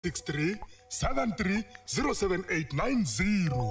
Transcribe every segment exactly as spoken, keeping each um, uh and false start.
Six three seven three zero seven eight nine zero.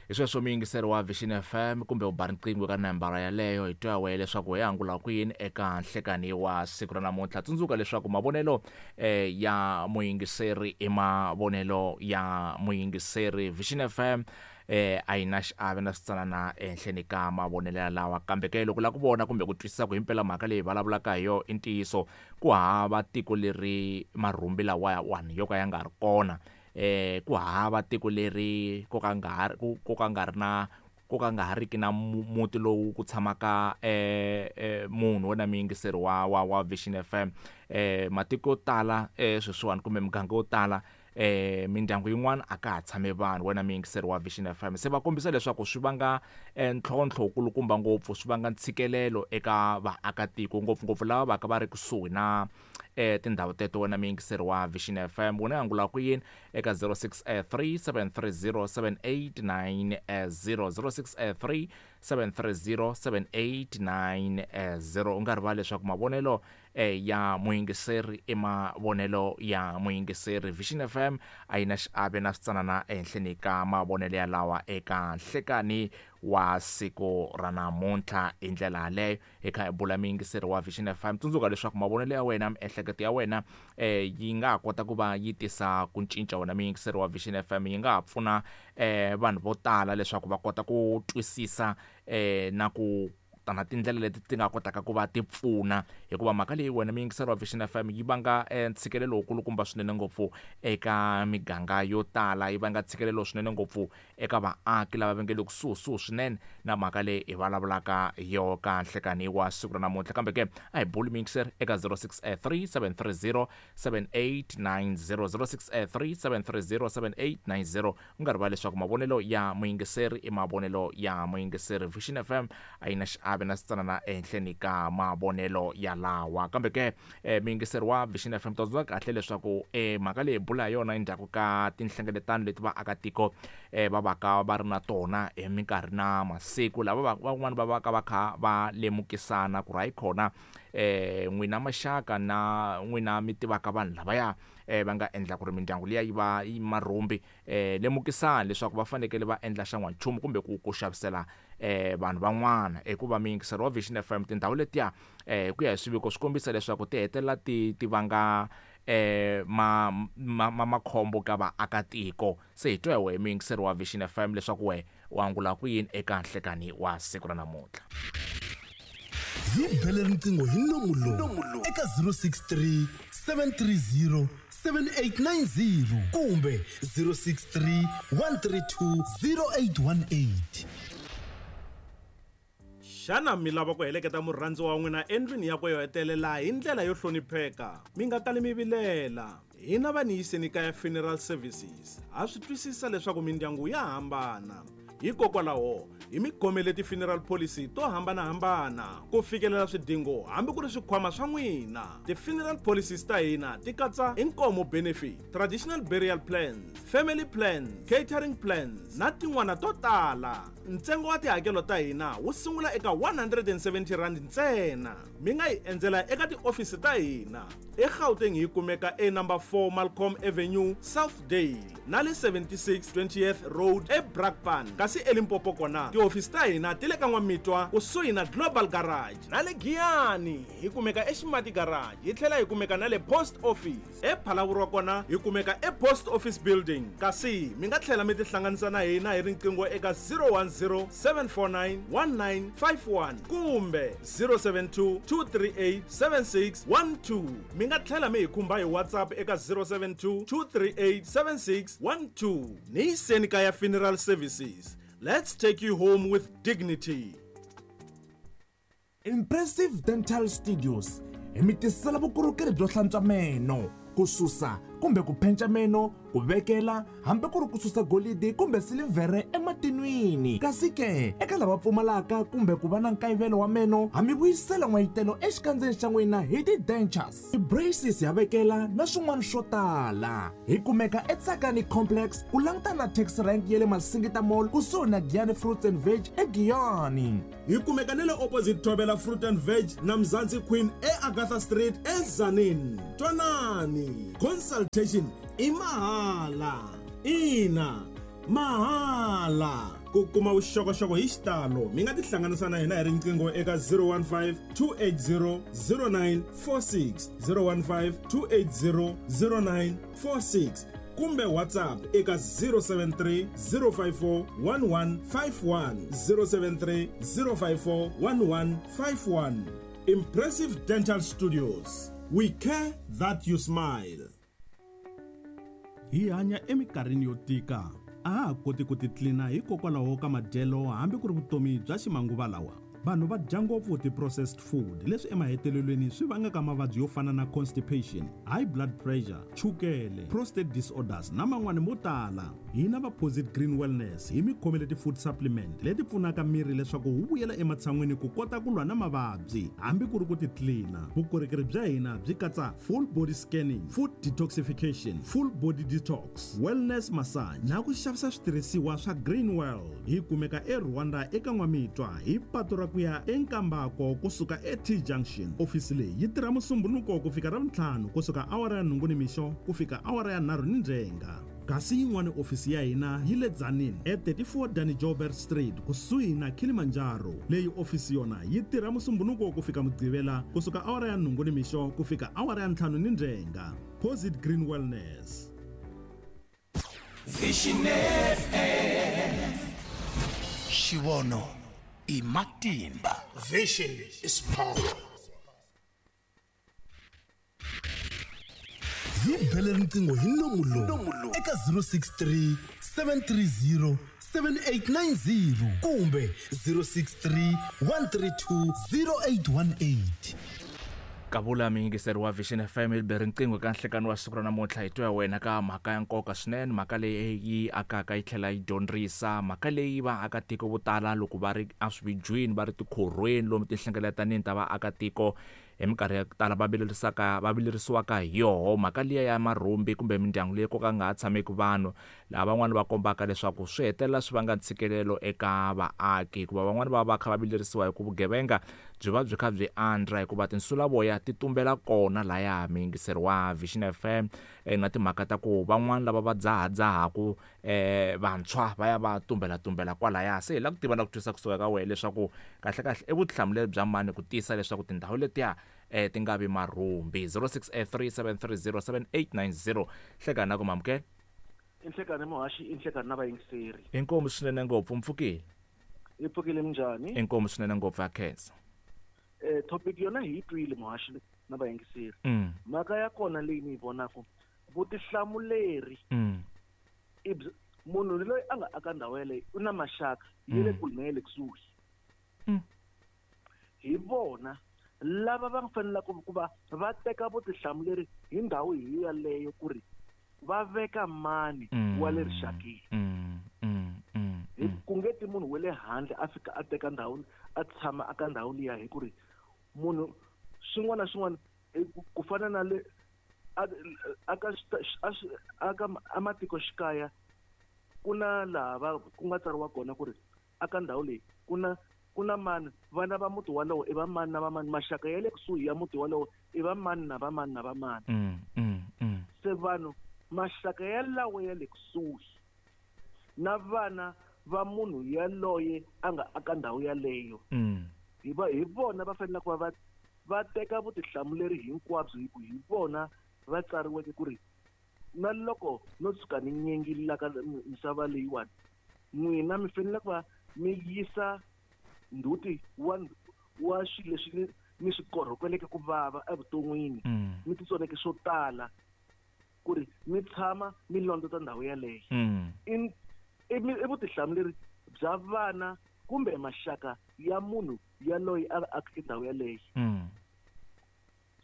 Hi sweswo muyingiseri wa Vision F M, kumbe u ba riqingho ka nambara yaleyo, hi twa wehe leswaku hi angula kwini eka nhlekani wa siku ra namuntlha. Tsundzuka leswaku mavonelo eh, ya muyingiseri i mavonelo ya muyingiseri. Vision F M eh a yi na xiave na switsanana ehenhleni ka mavonelo yalawa. Kambe ke loko la ku vona kumbe ku twisisa ku himpela mhaka leyi vulavulaka hi yo i ntiyiso, ku hava tiko leri marhumbi lawawani yo ka ya nga ri kona, eh ku hava tiko leri ko ka nga ha ku ka nga ri na ko ka nga ha riki na muti lowu ku tshamaka eh, eh munhu. Wena muyingiseri wa wa wa Vision F M, eh matiko yo tala eh sweswiwani kumbe miganga yo tala, eh mindyangu yin'wana a ka ha tshame vanhu. Wena muyingiseri wa Vision F M, se va kombisa leswaku swi vanga ntlhontlho wukulukumba ngopfu, swi vanga ntshikelelo eka vaakatiko, ngopfungopfu lava va ka va ri kusuhi na eh tindhawu teto. Wena muyingiseri wa Vision F M, wena angula ku yini eka zero six three seven three zero seven eight nine zero, zero six three seven three zero seven eight nine zero? U nga rivali leswaku mavonelo eh, ya muyingiseri i mavonelo ya muyingiseri. Vision F M a yi na xiave na switsanana ehenhleni ka mavonelo yalawa eka nhlekani wa siku ra namuntlha. Hi ndlela yaleyo hi kha hi bula, muyingiseri wa Vision F M. Tsundzuka leswaku mavonelo ya wena, miehleketo ya wena, eh yi nga ha kota ku va yi tisa ku cinca. Wena muyingiseri wa Vision F M, yi nga ha pfuna eh vanhu vo tala leswaku va kota ku twisisa eh na ku ta na tindlela leti ti nga kotaka ku va ti pfuna, hikuva mhaka leyi, wena muyingiseri wa Vision F M, yi vanga ntshikelelo wukulukumba swinene ngopfu eka miganga yo tala, yi vanga ntshikelelo swinene ngopfu eka vaaki lava va nge le kusuhisuhi swinene na mhaka leyi hi vulavulaka hi yo ka nhlekani wa siku ra namuntlha. Kambe ke a hi buli, muyingiseri, eka zero six three seven three zero seven eight nine zero, zero six three seven three zero seven eight nine zero. U nga rivali leswaku mavonelo ya muyingiseri i mavonelo ya muyingiseri. Vision F M a yi na xiave na switsanana ehenhleni ka mavonelo yalawa. Kambe ke eh, muyingiseri wa Vision F M, tsundzuka kahle leswaku eh, mhaka leyi hi bula hi yona endzhaku ka tinhlengeletano leti vaakatiko eh, va vaka va ri na tona hi minkarhi na masiku, lava van'wani va vaka va kha va lemukisana ku ri hayi khona, eh n'wina maxaka na n'wina mi tivaka vanhu lavaya eh va nga endla ku ri mindyangu liya yi va yi marhumbi, eh lemukisani leswaku va fanekele va endla xan'wanchumu kumbe ku ku xavisela eh vanhu van'wana. Hikuva, muyingiseri wa Vision F M, tindhawu letiya, eh hi ku ya hi swiviko, swi kombisa leswaku ti hetelela ti ti vanga eh ma ma ma makhombo ka vaakatiko. Se hi twa hi wehe, muyingiseri wa Vision F M, leswaku we u angula ku yini eka nhlekani wa siku ra namuntlha. Hi bele riqingho hi nomu lowu eka zero six three seven three zero seven eight nine zero kumbe zero six three one three two zero eight one eight. Xana mi lava ku heleketa murhandziwa wa n'wina endlwini yakwe yo hetelela hi ndlela yo hlonipheka? Mi nga kali mi vilela, hina va Niyiseni Kaya Funeral Services ha swi twisisa leswaku mindyangu ya hambana. Hikokwalaho hi mi khomele ti-funeral policy to hambanahambana ku fikelela swidingo hambi ku ri swikhwama swa n'wina. Ti-funeral policies ta hina ti katsa inkomo benefit, traditional burial plans, family plans, catering plans na tin'wana to tala. Ntsengo wa tihakelo ta hina wu sungula eka one hundred and seventy rand ntsena. Mi nga hi endzela eka tiofisi ta hina eGauteng, hi kumeka e number four Malcolm Avenue, Southdale, na le seventy-six twentieth Road eBrakpan. Kasi eLimpopo kona tihofisi ta hina ti le ka N'wamitwa kusuhi na Global Garage, na le Giyani hi kumeka eXimati Garage, hi tlhela hi kumeka na le Post Office. ePhalavurwa kona hi kumeka ePost Office Building. Kasi mi nga tlhela mi tihlanganisa na hina hi riqingho eka zero one zero seven four nine one nine five one kumbe zero seven two two three eight seven six one two. Mi nga tlhela mi hi khumba hi WhatsApp eka zero seven two two three eight seven six one two. Niyiseni Kaya Funeral Services, let's take you home with dignity. Impressive Dental Studios hi mi tisela vukorhokeri byo hlantswa meno, ku susa kumbe ku penca meno, ku vekela hambi ku ri ku susa golidi kumbe silivhere ematinwini. Kasi ke eka lava pfumalaka kumbe ku va na nkayivelo wa meno, ha mi vuyisela n'wayitelo exikandzeni xa n'wina hi ti-dentures, ti-braces ya vekela na swin'wana swo tala. Hi kumeka eTsakani Complex ku langutana na taxi rank ya le Masingita Mall kusuhi na Giyani Fruits and Veg eGiyani. Hi kumeka na le opposite Thobela Fruit and Veg na Mzansi Queen eAgatha Street eZanin. Twanani, consultation i mahala. Ina, mahala. Ku kuma vuxokoxoko hi xitalo mi nga tihlanganisa na hina hi riqingho eka zero one five two eight zero zero nine four six, zero one five two eight zero zero nine four six kumbe WhatsApp eka zero seven three zero five four one one five one, zero seven three zero five four one one five one. Impressive Dental Studios. We care that you smile. Hi hanya eminkarhini yo tika. A ha koti ku titlina hikokwalaho ka madyelo hambi ku ri vutomi bya ximanguva lawa. Vanhu va dya ngopfu ti-processed food leswi emahetelelweni swi vangaka mavabyi yo fana na constipation, high blood pressure, chukele, prostate disorders na man'wani mo tala. Hina va Posit Green Wellness hi mi khomele ti-food supplement leti pfunaka miri leswaku wu vuyela ematshan'wini ku kota ku lwa na mavabyi hambi ku ri ku titlina. Vukorhokeri bya hina byi katsa full body scanning, food detoxification, full body detox, wellness massage na ku xavisa switirhisiwa swa Green World. Hi kumeka eRwanda eka N'wamitwa hi patu ra ku ya eNkambako kusuka e-T Junction. Ofisi leyi yi tirha Musumbhunuko ku fika Ravuntlhanu kusuka awara ya nhungu nimixo ku fika awara ya nharhu ni ndzhenga. Kasi yin'wana ofisi ya hina yi le Tzaneen e thirty-four Danny Joubert Street kusuhi na Kilimanjaro. Leyi ofisi yona yi tirha Musumbhunuko ku fika Mugqivela kusuka awara ya nhungu nimixo ku fika awara ya ntlhanu ni ndzhenga. Posit Green Wellness. Vision F M. Xivono i matimba. Vision is power. Hi bele riqingho hi nomu lowu eka zero six three seven three zero seven eight nine zero kumbe zero six three one three two zero eight one eight. Kavula muyingiseri wa Vision F M hi bele riqingho ka nhlekani wa siku ra namuntlha. Hi twa wena ka mhaka ya nkoka swinene, mhaka leyi yi akaka yi tlhela yi dyondzisa, mhaka leyi vaakatiko vo tala loko va ri eswividyweni va ri tikhorhweni lomu tinhlengeletanini ta vaakatiko hi minkarhi ya ku tala va vilerisaka va vilerisiwaka hi yoho mhaka liya ya marhumbi kumbe mindyangu leyi ko ka nga ha tshameki vanhu, laha van'wani va kombaka leswaku swi hetelela swi vanga ntshikelelo eka vaaki, hikuva van'wani va va kha va vilerisiwa hi ku vugevenga byi va byi kha byi andza hikuva tinsulavoya ti tumbela kona laya. Muyingiseri wa Vision F M na timhaka ta ku van'wani lava va dzahadzahaku eh vantshwa va ya va tumbela tumbela kwalaya. Se hi lava ku tiva na ku twisisa kusuka ka wena leswaku kahle kahle i vutihlamuleri bya mani ku tiyisa leswaku tindhawu letiya eh ti nga vi marhumbi. Zero six eight three seven three zero seven eight nine zero. Hlekani na ku mamukela. Inhlekani muhaxi, inhlekani na vayingiseri. Inkomu swinene ngopfu, mpfukile. Hi pfukile minjhani? Inkomu swinene ngopfu, akhensa. Eh topic yona hi twile muhaxi na vayingiseri. Mhaka ya kona leyi ni yi vonaka vutihlamuleri i munhu loyi a nga aka ndhawu yeleyo u na maxaka ya le kule na ya le kusuhi. Hi vona lava va fanelaka ku va va teka vutihlamuleri hi ndhawu hi yaleyo ku ri va veka mani wa le rixakeni. Hi ku nge ti munhu wa le handle a fika a teka ndhawu a tshama aka ndhawu liya, hi ku ri munhu swin'wana na swin'wana ku fana na le aka aka amatikoxikaya ku na laha va ku nga tsariwa kona ku ri aka ndhawu leyi ku na ku na mani, vana va muti walowo i va mani na va mani, maxaka ya le kusuhi ya muti walowo i va mani na va mani na va mani. Se vanhu maxaka yalawo ya le kusuhi na vana va munhu yaloye a nga aka ndhawu yaleyo hi va hi vona va fanele ku va va va teka vutihlamuleri hinkwabyo, hi ku hi vona va tsariweke ku ri na loko no tshuka ni nyengile ka misava leyiwani n'wina mi fanele ku va mi yisa ndzhuti wa wa swilo leswi ni swi korhokeleke ku vava evuton'wini, mi titsoneke swo tala ku ri mi tshama mi londzota ndhawu yaleyo. I i vutihlamuleri bya vana kumbe maxaka ya munhu yaloye a akeke ndhawu yaleyo.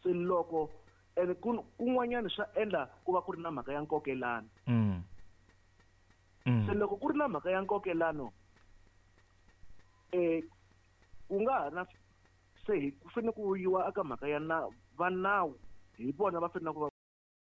Se loko Ene kun'wanyana swa endla ku va ku ri na mhaka ya nkokelano. Mm. Mm. Se loko ku ri na mhaka ya nkokelano eh ku nga ha na se hi ku fanele ku yiwa eka mhaka ya na va nawu hi vona va fanele ku va